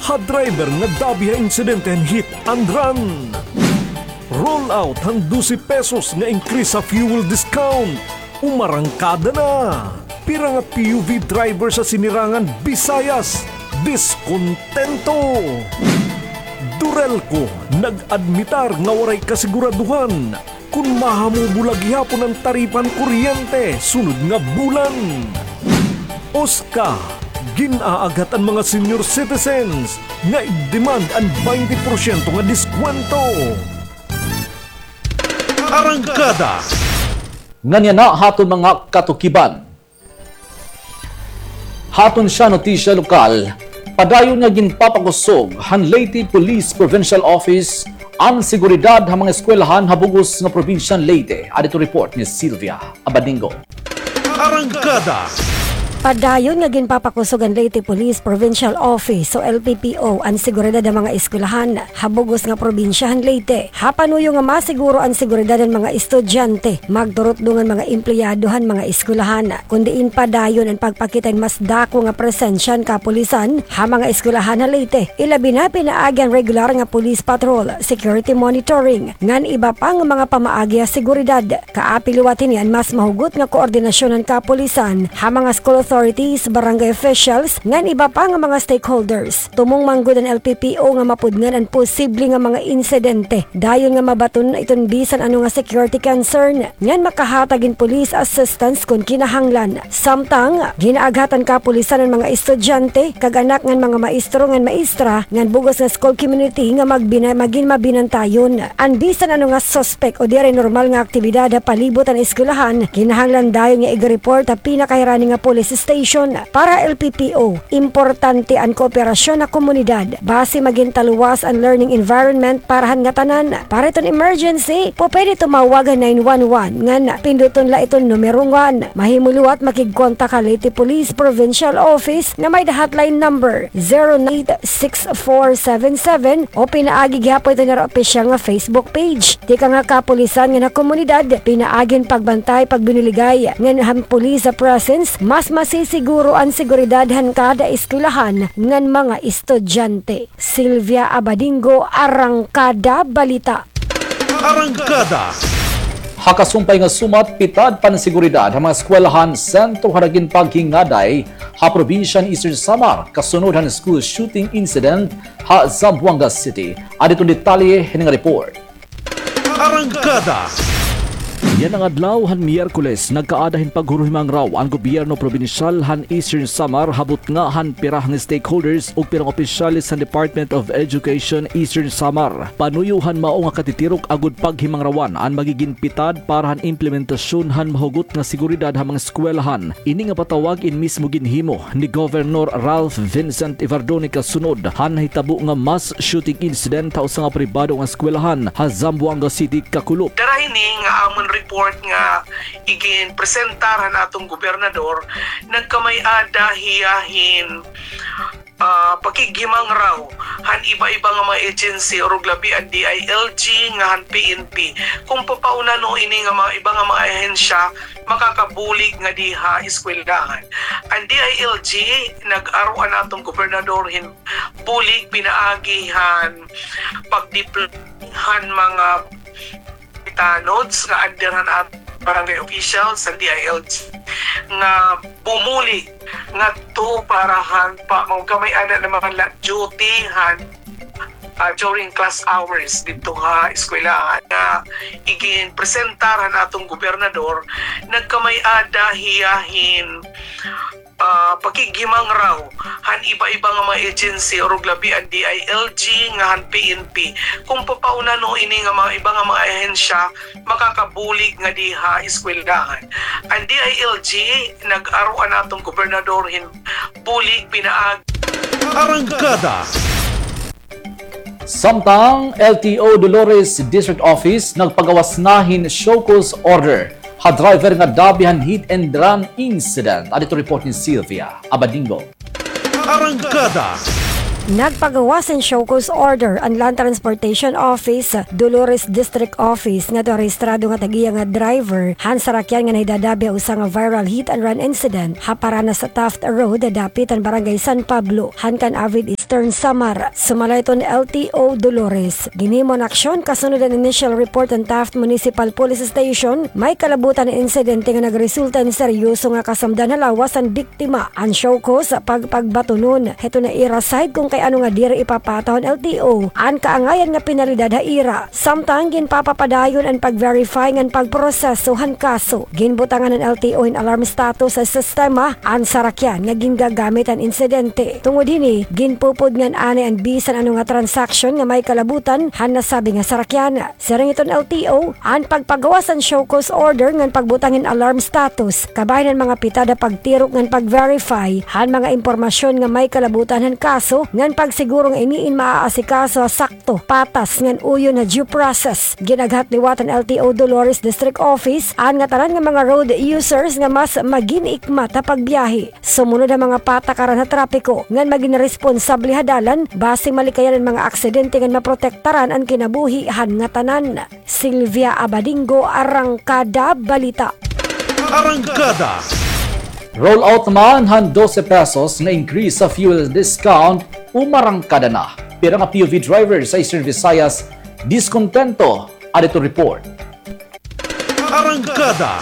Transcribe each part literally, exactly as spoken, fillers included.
ha driver nga dabi ha insidente han hit and run. Roll out han dose pesos nga increase ha fuel discount. Umarangkada na! Pira nga P U V driver sa Sinirangan, Visayas, diskontento! Durelco nag-admitar nga waray kasiguraduhan kon mahamubo la gihapon an taripa han kuryente sunod nga bulan. OSCA, gin-aaghat an mga senior citizens nga igdemand an baynte porsyento nga diskwento. Arangkada. Ngan yana ha aton mga katukiban. Ha aton sya notisya lokal, padayon nga ginpapakusog han Leyte Police Provincial Office an seguridad ha mga eskwelahan ha bug-os nga probinsya han Leyte. Adto report ni Sylvia Abadingo. Arangkada. Padayon nga ginpapakusog han Leyte Police Provincial Office o L P P O an seguridad han mga eskwelahan ha bug-os nga probinsya han Leyte. Ha panuyo nga masiguro an seguridad han mga estudyante, magturutdo ngan mga empleyado han mga eskwelahan, kon diin padayon an pagpakita hin mas dako nga presensya han kapulisan ha mga eskwelahan ha Leyte, ilabi na pinaagi han regular nga police patrol, security monitoring, ngan iba pa nga mga pamaagi ha seguridad. Kaapi liwat hini an mas mahugot nga koordinasyon han kapulisan ha mga school authorities, barangay officials, ngan iba pa nga mga stakeholders. Tumong man gud an L P P O nga mapudngan an posible nga mga insidente, dayon nga mabaton iton bisan ano nga security concern, ngan makahatag hin police assistance kon kinahanglan. Samtang, gin-aaghat han kapulisan an mga estudyante, kag anak ngan mga maestro ngan maestra, ngan bug-os nga school community nga magbina-, magin mabinantayon. An bisan ano nga suspek o diri normal nga aktibidad ha palibot han eskwelahan, kinahanglan dayon nga iga-report ha pinakahirani nga police station. Para ha L P P O, importante an kooperasyon ha komunidad. Basi magin taluwas an learning environment para han ngatanan. Para iton emergency, pupwede tumawag ha nine one one ngan pinduton la iton numero one. Mahimo liwat makigkontak ha Leyte Police Provincial Office nga may-ada hotline number zero nine eight six four seven seven o pinaagi gihapon iton ira opisyal nga Facebook page. Tikang ha kapulisan ngan ha komunidad, pinaagi hin pagbantay, pagbinuligay ngan han police presence, mas masisiguro an seguridad han kada eskwelahan ngan mga estudyante. Sylvia Abadingo, Arangkada Balita. Arangkada. Ha kasumpay nga sumat, pitad pa an seguridad ha mga eskwelahan, sentro han nagin paghingaday ha probinsya han Eastern Samar, kasunod han school shooting incident ha Zamboanga City. Adto an detalye hini nga report. Arangkada. Yana nga adlaw han Miyerkules, nagkaada hin paghuruhimangraw an gobyerno probinsyal han Eastern Samar ha butnga han pira nga stakeholders ug pira nga opisyales han Department of Education Eastern Samar. Panuyo han mao nga katitirok agod paghimangrawan an magigin pitad para han implementasyon han mahugot nga seguridad ha mga eskwelahan. Ini nga patawag in mismo ginhimo ni Governor Ralph Vincent Evardone kasunod han nahitabo nga mass shooting incident ha usa nga pribado nga eskwelahan ha Zamboanga City kakulop. Dara hini nga amon report nga iginpresentar han aton gobernador, nagkamay-ada hiya hin ah, pakighimangraw han iba-iba nga mga agency, urog labi an D I L G nga han P N P, kon papaunano ini nga mga iba nga mga ahensya makakabulig ngadi ha eskwelahan. An D I L G, nag-aro an aton gobernador hin bulig pinaagi han pag-deploy han mga tanods nga under han aton barangay officials, han D I L G, nga bumulig ngadto para han pa, mga kamay-ada nga mga la-, duty han, ah, during class hours didto ha eskwelahan nga iginpresentar han aton gobernador, nagkamay-ada hiya hin ah, pakighimangraw han iba-iba nga mga agency, urog labi an D I L G nga han P N P, kon papaunano ini nga mga iba nga mga ahensya makakabulig ngadi ha eskwelahan. An D I L G, nag-aro an aton gobernador hin bulig pinaagi. Arangkada. Samtang L T O Dolores District Office nagpagawas na hin show cause order ha driver nga dabi han hit and run incident. Adto report ni Sylvia Abadingo. Arangkada. Nagpagawas hin show cause order an Land Transportation Office, Dolores District Office, ngadto ha rehistrado nga tag-iya nga driver han sarakyan nga nahidadabi ha usa nga viral hit and run incident ha parana sa Taft Road, dapit han Barangay San Pablo, han kan Avid Eastern Samar. Sumala hiton L T O Dolores. Ginhimo an aksyon kasunod an initial report han Taft Municipal Police Station, may kalabutan an insidente nga nagresulta hin seryoso nga kasamdan ha lawas han biktima. An show cause pagpagbatunon. Hiton ha ira side kon kay ano nga diri ipapataw han L T O an kaangayan nga penalidad ha ira. Samtang ginpapapadayon an pag-verify ngan pagproseso han kaso. Ginbutangan han L T O hin alarm status ha sistema an sarakyan nga gingagamit han insidente. Tungod hini, ginpupudngan anay an bisan ano nga transaksyon nga may kalabutan han nasabi nga sarakyan. Siring hiton L T O, an pagpagawas han show cause order ngan pagbutang hin alarm status kabahin han mga pitad ha pagtirok ngan pag-verify han mga impormasyon nga may kalabutan han kaso ngan pagsiguro nga ini in maaasikaso ha sakto, patas ngan uyon ha due process. Ginaghat liwat han L T O Dolores District Office an ngatanan nga mga road users nga mas magin ikmat ha pagbiyahe, sumunod ha mga patakaran ha trapiko ngan magin responsable ha dalan basi malikayan an mga aksidente ngan maprotektaran an kinabuhi han ngatanan. Sylvia Abadingo, Arangkada Balita. Arangkada. Roll out naman han dose pesos nga increase sa fuel discount, umarangkada na. Pira nga P U V drivers sa Eastern Visayas diskontento. Ada iton report. Arangkada.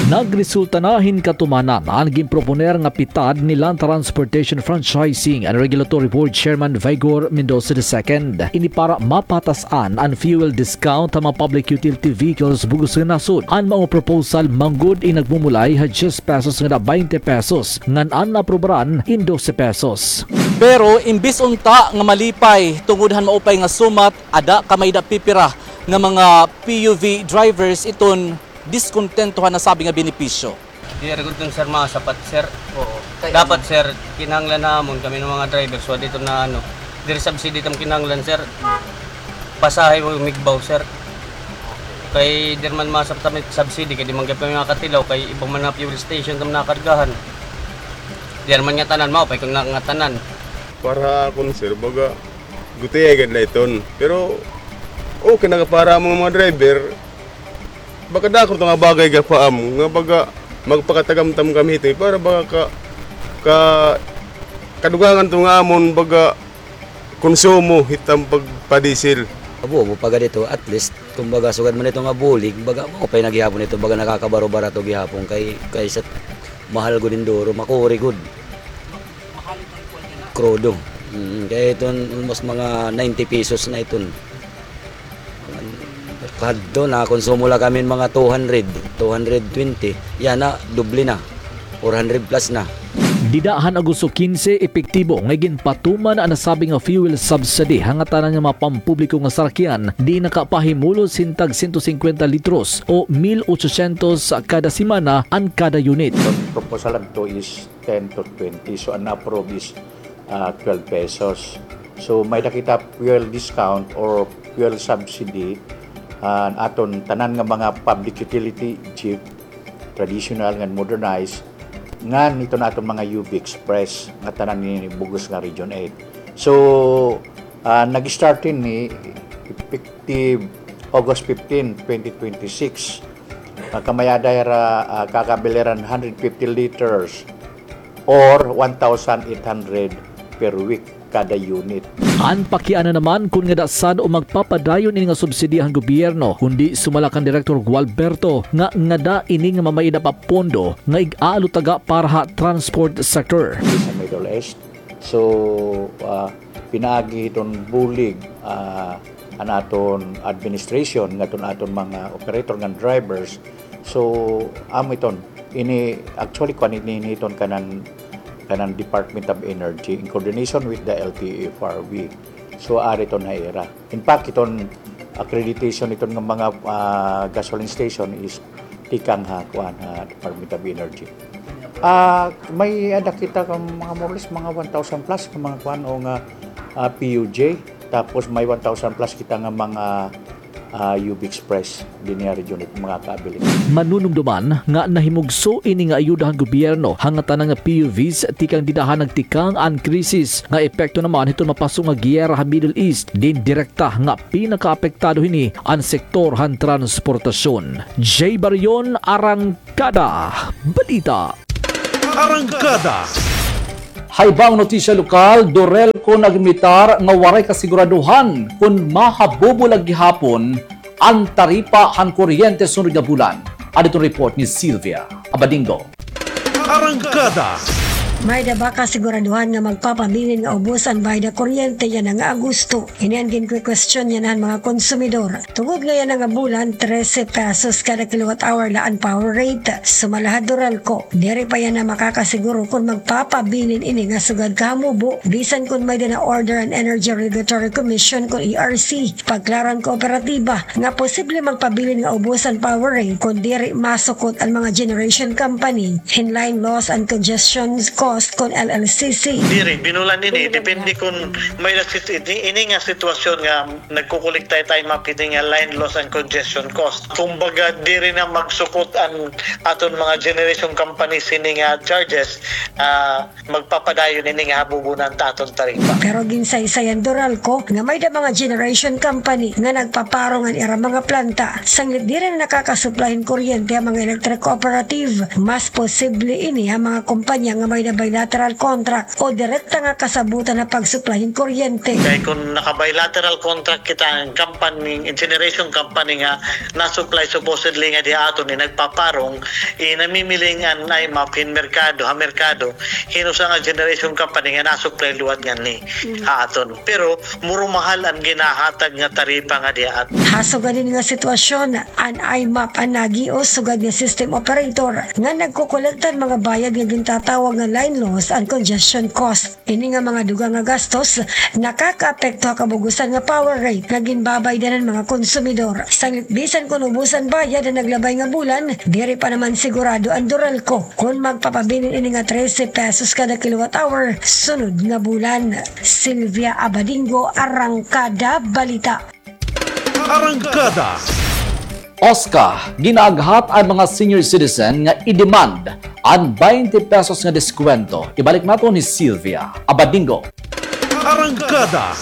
Nagresulta na hin katumanan an ginproponer nga pitad ni Land Transportation Franchising and Regulatory Board Chairman Vigor Mendoza the second. Ini para mapatas-an an fuel discount ha mga public utility vehicles bug-os nga nasod. An mao nga proposal manggod in nagmumulay ha diyes pesos ngada baynte pesos, ngan an naaprobaran in dose pesos. Pero imbis unta nga malipay tungod han maupay nga sumat, ada ka may-ada pipira nga mga P U V drivers iton diskontento han nasabi nga benepisyo. Diri gud iton, sir, masapat, sir. Oo. Kay dapat, ano, sir, kinahanglan namon kami nga mga drivers, wala iton nga, ano, diri subsidy it am kinahanglan, sir. Pasahe o migbaw, sir. Kay diri man masapat it subsidy, kay di man gihap kami makatilaw, kay iba man nga fuel station it am nakargahan. Diri man ngatanan, maupay kon ngatanan. Para ha akon, sir, baga, gutiay gad la iton. Pero okay na para ha mga driver. Baga dako ito nga bagay gihap ha amon, nga baga magpakatagamtam kami hito, eh, para baga ka, ka, kadugangan ito nga amon baga konsumo hit am pagpadiesel. Abo, abo pa gad ito, at least, kumbaga, sugad man ito nga bulig, baga, maupay na gihapon ito, baga, nakakabaro-barato gihapon kay, kaysa mahal gud hin duro, makuri gud. Krudo. Mm, kay iton almost mga ninety pesos na iton. Kadto, nakonsumo la kami hin mga two hundred, two hundred twenty. Yana, doble na. Four hundred plus na. Dida han Agosto kinse, epektibo nga ginpatuman an nasabi nga fuel subsidy ha ngatanan nga mga pampubliko nga sarakyan, diin nakapahimulos hin tag sento singkwenta litros o mil ochocientos kada semana an kada unit. Proposal adto is ten to twenty. So, an na-approve is, ah, twelve pesos. So, may-ada kita fuel discount or fuel subsidy, ah, aton tanan nga mga public utility jeep, traditional ngan modernized, ngan iton aton mga U V Express nga tanan ini bug-os nga Region eight. So, ah, nag-start ini effective August fifteen, twenty twenty-six. Ah, kamay-ada hira, ah, kakabili hira hin hundred fifty liters or one thousand eight hundred per week kada unit. An pakiana naman kon ngada sad o magpapadayon ini nga subsidiya han gobyerno, kundi sumala kan Direktor Gualberto nga ngada ini nga mamay-ada pa pondo nga ig-aalutaga para ha transport sector. Sa Middle East. So, ah, pinaagi hiton bulig, ah, an aton administration, ngadton aton mga operator ngan drivers. So, amo iton, ini, actually, kuan ini hiton kanan, kanan Department of Energy in coordination with the L T F R B. So, ari iton ha ira. In fact, iton accreditation iton nga mga, ah, gasoline station is tikang ha, kuan, ha Department of Energy. Ah, may-ada kita ka mga more or less mga one thousand plus ka mga kuan o nga, ah, P U J. Tapos may one thousand plus kita nga mga, ah, U V Express dinhi ha region it mga kaabilin. Manunumdoman nga nahimugso ini nga ayuda han gobyerno ha ngatanan nga P U Vs tikang dida han nagtikang an krisis nga epekto naman hiton mapaso nga giyera ha Middle East, diin direkta nga pinakaapektado hini an sektor han transportasyon. Jay Barion, Arang Kada Balita. Arangkada. Ha iba nga notisya lokal, DURELCO nag-imbitar nga waray kasiguraduhan kon mahabubo la gihapon an taripa han kuryente sunod nga bulan. Adto an report ni Sylvia Abadingo. Arangkada. May-ada ba kasiguraduhan nga magpapabilin nga ubos an bayad ha kuryente yana nga Agosto? Ini an ginkukwestiyon yana han mga konsumidor. Tungod nga yana nga bulan, trese pesos kada kilowatt hour la an power rate. Sumala ha DURELCO, diri pa yana makakasiguro kon magpapabilin ini nga sugad kahamubo, bisan kon may-ada na-order an Energy Regulatory Commission kon E R C. Pagklaro han kooperatiba nga posible magpabilin nga ubos an power rate kon diri masukot an mga generation company hin line loss and congestion cost kon L L C C. Diri, binulan ini, depende kon may-ada sit-, ini, ini nga sitwasyon nga nagkukolekta it I M A P hini nga line loss and congestion cost. Kumbaga, diri na magsukot an aton mga generation company sini nga charges, ah, magpapadayon ini nga habubo na an aton taripa. Pero ginsaysay han DURELCO nga may-ada mga generation company nga nagpaparong an ira mga planta, sanglit diri na nakakasupply hin kuryente an mga electric cooperative. Mas posible ini ha mga kompanya nga may-ada bilateral contract o direkta nga kasabutan ha pagsupply hin kuryente. Kay kon naka-bilateral contract kita, an company, generation company nga na-supply supposedly nga di aton, eh, nagpaparong, eh, namimiling an I M A P hin merkado, ha merkado, hin usa nga generation company nga na-supply liwat nganhi ha aton. Pero murumahal an ginahatag nga taripa nga di aton. Ha sugad hini nga sitwasyon, an I M A P an nagios sugad nga system operator nga nagkokolekta han mga bayad nga gintatawag nga line loss and congestion cost. Ini nga mga dugang nga gastos nakakaapekto ha kabug-osan nga power rate nga ginbabaydan han mga konsumidor. Sanglit bisan kon ubos an bayad han naglabay nga bulan, diri pa naman sigurado an DURELCO kon magpapabilin ini nga trese pesos kada kilowatt hour sunod nga bulan. Sylvia Abadingo, Arangkada Balita. Arangkada. OSCA, ginaaghat an mga senior citizen nga i-demand an baynte pesos nga diskwento. Ibalik naton hi Sylvia Abadingo. Arangkada.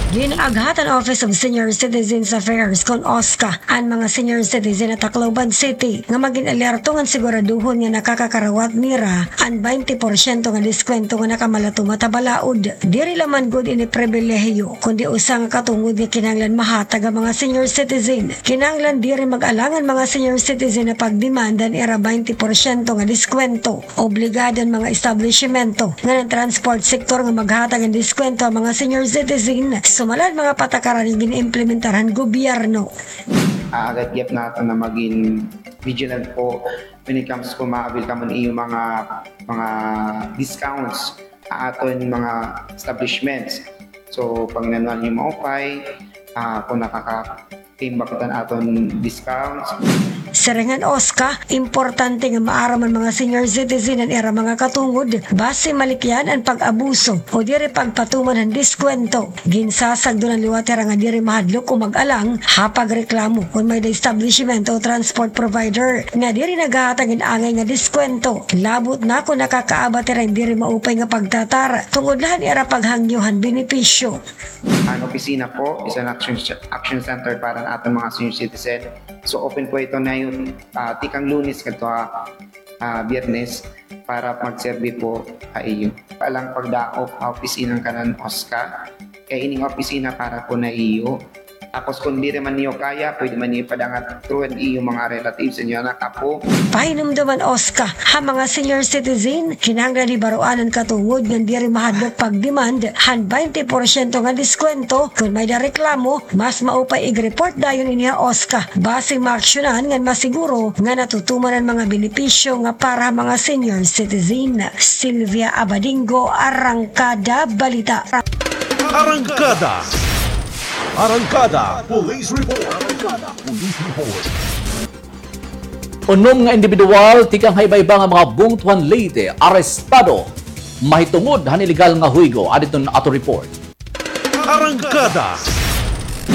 Ginaaghat han Office of Senior Citizens Affairs kon OSCA an mga senior citizen ha Tacloban City nga magin alerto ngan siguraduhon nga nakakakarawat nira an baynte porsyento nga diskwento nga nakamalatumat ha balaod. Diri la man gud ini pribilehiyo, kundi usa nga katungod nga kinahanglan mahatag ha mga senior citizen. Kinahanglan diri mag-alang an mga senior citizen ha pagdemanda han ira baynte porsyento nga diskwento. Obligado an mga establisimento ngan an transport sektor nga maghatag hin diskwento ha mga senior citizen, sumala han mga patakaran nga gin-implementar han gobyerno. Ah, agad gihap naton na magin vigilant po when it comes kung ma-avail kamo hin iyo mga, mga discounts ha aton mga establishments. So, pag nanwan niyo maupay, ah, kung nakaka-claim ba kita han aton discounts. Siring han OSCA, importante nga maaram han mga senior citizen an ira mga katungod, basi malikyan an pag-abuso o diri pagpatuman han diskwento. Ginsasagdonan liwat hira nga diri mahadlok o mag-alang ha pagreklamo kon may-ada establisimento o transport provider nga diri naghahatag hin angay nga diskwento, labot na kon nakakaabat hira hin diri maupay nga pagtatar tungod la han ira paghangyo han benepisyo. An opisina po is an action, action center para han aton mga senior citizen. So, open po ito ngayon, ah, tikang Lunes ngadto ha, ah, Biyernes para magserbi po ha iyo. Waray pagdaop ha opisina han kanan OSCA. Kay ini nga opisina para po ha iyo. Tapos kung diri man niyo kaya, pwede man niyo ipadangat through an iyo mga relatives, inyo anak, apo. Pahinumdom han OSCA ha mga senior citizen, kinahanglan hibaroan an katungod ngan diri mahadlok pag-demand han baynte porsyento nga diskwento. Kon may-ada reklamo, mas maupay ig-report dayon ini ha OSCA. Basi maaksyonan ngan masiguro nga natutuman an mga benepisyo nga para ha mga senior citizen. Sylvia Abadingo, Arangkada Balita. Arangkada. Arangkada Police Report. Arangkada Police Report. Unom nga individual tikang ha iba-iba nga mga bungto han Leyte arestado mahitungod han illegal nga huygo. Adto an aton report. Arangkada.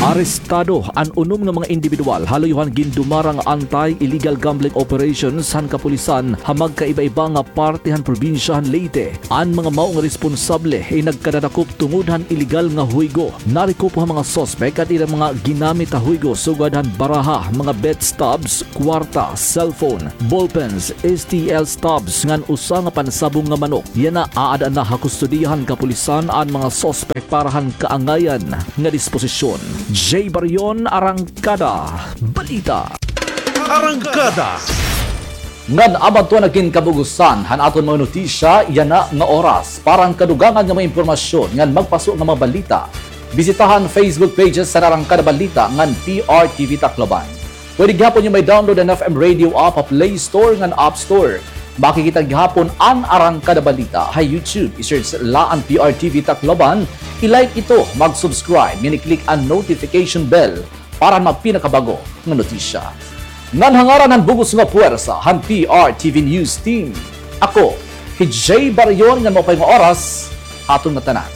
Arestado an unom nga mga indibidwal ha luyo han gindumara nga anti-illegal gambling operations han kapulisan ha magkaiba-iba nga parte han probinsya han Leyte. An mga mao nga responsable ay nagkadadakop tungod han iligal nga huygo. Narekupo han mga suspek an ira mga ginamit ha huygo sugad han baraha, mga bet stubs, kwarta, cellphone, ballpens, S T L stubs ngan usa nga pansabong nga manok. Yana, aada na ha kustodiya han kapulisan an mga suspek para han kaangayan nga disposisyon. Jay Barion, Arangkada Balita. Arangkada. Ngan amo adto an nagin kabug-osan han aton mga notisya yana nga oras. Para han kadugangan nga mga impormasyon ngan magpaso nga mga balita, bisitaha an Facebook pages han Arangkada Balita ngan P R T V Tacloban. Pwede gihapon niyo ma-download an F M radio app ha Play Store ngan App Store. Makikita gihapon an Arangkada Balita ha YouTube. I-search la an P R T V Tacloban. I-like ito, mag-subscribe, ngan i-click an notification bell para han mga pinakabag-o nga notisya. Ngan ha ngaran han bug-os nga puwersa han P R T V News Team, ako hi Jay Barion, ngan maupay nga oras ha aton ngatanan.